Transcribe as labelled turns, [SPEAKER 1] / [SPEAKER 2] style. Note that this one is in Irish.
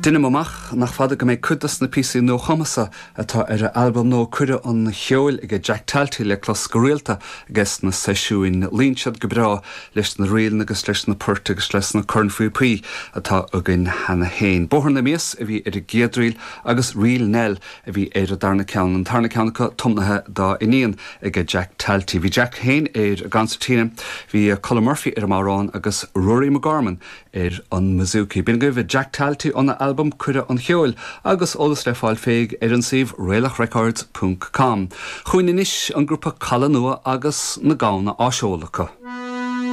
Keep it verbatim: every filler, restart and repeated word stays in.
[SPEAKER 1] Deinim amach nach fada go mbeidh cuid de na píosaí nuachumtha atá ar a albam nua Cuireadh an Cheoil ag Jack Talty le clos go rialta agus na seisiúin luíonn siad go breá leis na ríleanna agus leis na poirt agus leis na cornphíopaí atá againn cheana féin. Bóthar na Mias a bhí ar an gcéad ríl agus Ríl Nell a bhí ar an darna ceann an tarna ceann acu tiomnaithe dá iníon ag Jack Talty. Bhí Jack féin ar an gconsairtín, bhí Colm Murphy ar an mbodhrán agus Rory McGorman ar an mbouzouki. B'in agaibh Jack Talty óna albam Cuireadh an Cheoil agus eolas le fáil fé ar an suíomh raolachrecords.com. Chugainn anois an grúpa Caladh Nua agus na gamhna á seoladh acu.